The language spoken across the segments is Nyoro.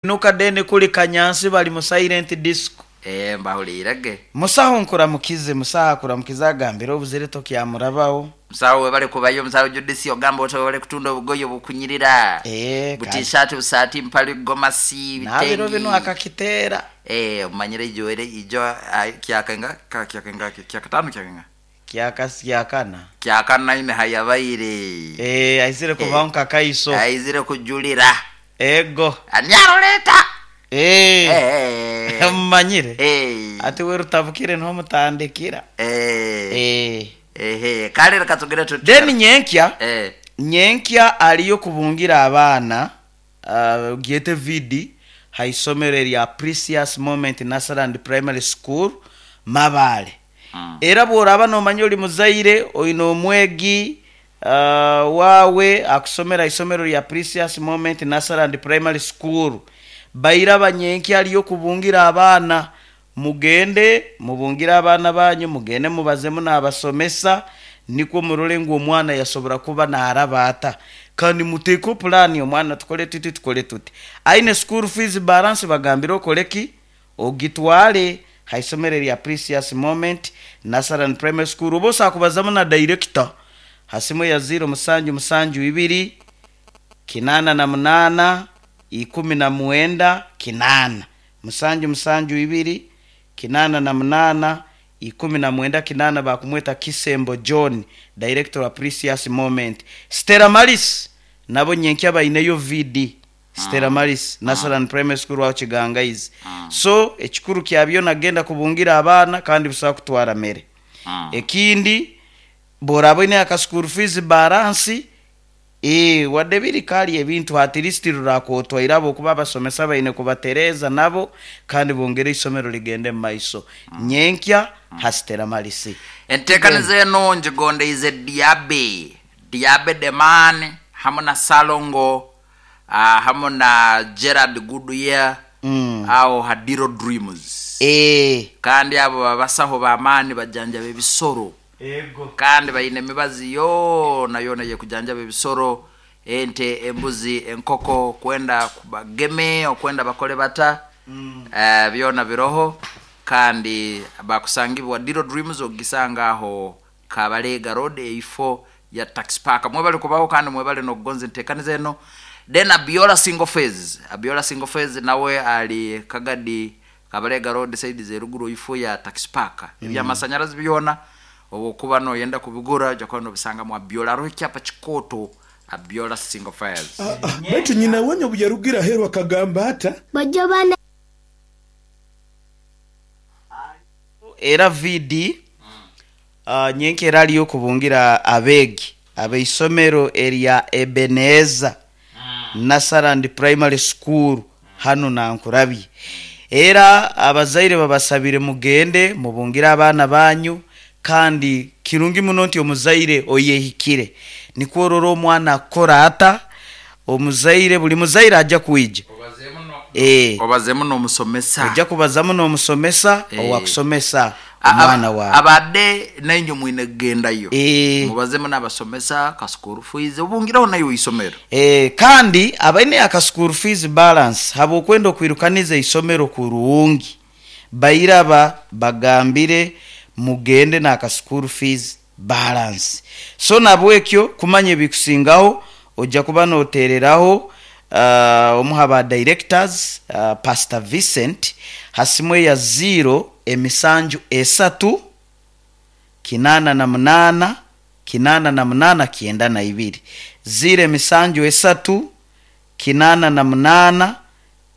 Inuka then kuli Kanyansi bali mu silent disco. Eeh mbahuliire ge. Musaho nkuramukize. Musaho akuramukize agambire obuzire tokyamurabaho. Musaho webale kubayo musaho Judith ogamba oti webale kutunda obugoye obukunyirira. Eeh Bu kale. t-shirt, busaati, mpale, gomasi, Nabiro bitengi. binu akakiteera. Eeh omanyire ijo ere ijo kyaka inga ka kyaka inga kyakataano kyaka inga? Kyaka kyakana. Kyakana ine hayabaire. Eeh aizire kubaho nka kaiso. Aizire kujulira. Ego. Ani aruleeta? Eeh Eeh. mumanyire. Eeh. Ati werutavukire niho mutandikira. Eeh. Eeh. Ehe kale leka tugire tuti. Then nyenkya, Eeh. nyenkya aliyo kubungira abaana gyete VD ha isomero erya Precious Moment Nursery and Primary School Mabaale. Era bworaba nomanya oli muzaire oine omwegi waawe akusomera ha isomero lya Precious Moment Nursery and Primary School, bairaba nyenkya aliyo kubungira abaana. Mugende mubungire abaana banyu, mugende mubazemu n'abasomesa nikwo murole ngu omwana yasobora kuba naaraba ata. Kandi muteekeho pulaani omwana tukole tuti tukole tuti. Aine school fees balance bagambire okole ki? Ogitwale ha isomero erya Precious Moment Nursery and Primary School oba osobola kubazamu na director ha simu eya ziiro musanju musanju ibiri, kinaana na munaana, ikumi na mwenda, kinaana. Musanju musanju ibiri, kinaana na munaana, 19 kinaana baakumweta Kisembo John, Director wa Precious Moment. Stella Maris nabo nyenkya baineyo VD. Stella Maris, Nursery Primary School aho Kigangaizi. So ekikuru kya byona genda kubungira abaana kandi busaho kutwara mere. Ekindi bworaaba oine aka school fees balance, Eeh wadde biri kali ebintu at least rurakwotwaire ahabwokuba abasomesa baine kubatereeza nabo kandi bongere eisomero rigende mumaiso. Nyenkya ha Stella Maris. Enteekaniza eno ngigondeize Diabe, Diabe the Man hamu na Ssalongo hamu na Gerald Goodyear aho ha Diro Dreams. Kandi abo babasaho b'amaani bajanjaba ebisoro. Kandi baine emibazi yoonayoona ey'ekujanjaba ebisoro, ente, embuzi, enkoko, kwenda bageme, okwenda bakole bata, byona biroho. Kandi bakusangibwa Diro Dreams ogisanga aho Kabalega Road eifo ya Taxi Park. Mwebale kubaho kandi mwebale n'okugonza enteekaniza eno. Then Abiola Single Phase, Abiola Single Phase nawe ali Kagadi Kabalega Road side z'eruguru eifo ya Taxi Park. Eby'amasanyarazi byona obu okuba noyenda kubigura oja kuba nobisanga mu Abiola. Haroho ekyapa kikooto Abiola Single Phase. Baitu nyina wenye obu yarugire aheeru akagamba ata? Bojo bana. Era VD, Nyenka era aliyo okubungira abeegi abeisomero erya Ebenezer Nursery and Primary School hanu Nankurabye. Era abazaire babasabire mugende mubungire abaana banyu kandi kirungi muno nti omuzaire oyehikire nikwo orore omwana akukora ata, omuzaire buli muzaire aja kwija. Obazeemu n'omusomesa. Oija kubazamu n'omusomesa owakusomesa omwana waawe. Abade nainywe mwine kugendayo. Mubazemu n'abasomesa, ka school fees, obungireho naiwe eisomero. Kandi abaine aka school fees balance habw'okwenda okwirukaniza eisomero kurungi, bairaba bagambire mugende n'aka school fees balance. So nabwekyo kumanya ebikusingaho oja kuba notereraho omu ha ba directors Pastor Vincent ha simu eya ziiro emisanju esatu kinaana na munaana kinaana na munaana kyenda na ibiri, ziiro emisanju esatu kinaana na munaana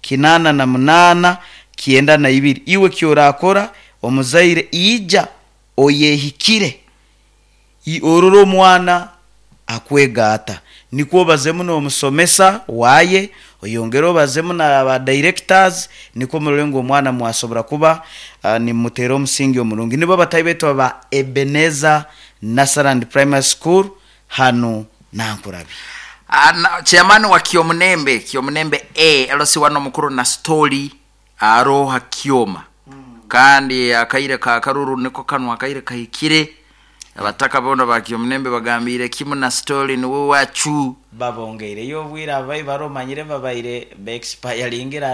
kinaana na munaana kyenda na ibiri. Iwe ekyorakora omuzaire ija oyehikire orore omwana akwega ata. Nikwo obazemu n'omusomesa waye, oyongere obazemu na ba directors nikwo murore ngu omwana mwasobora kuba nimumuteera omusingi omurungi. Nibo abatahi baitu aba Ebenezer Nursery and Primary School hanu Nankurabye. Chairman wa Kyomunembe, Kyomunembe A, LC one omukuru Nasitoli aroho ha kyoma kandi akaire ka karuru niko kanu akaire kahikire. Abataka boona bakyomunembe bagambiire kimu na story niwe wacu. Babongeireyo obwire abai baromanyire babaire beexpiringire.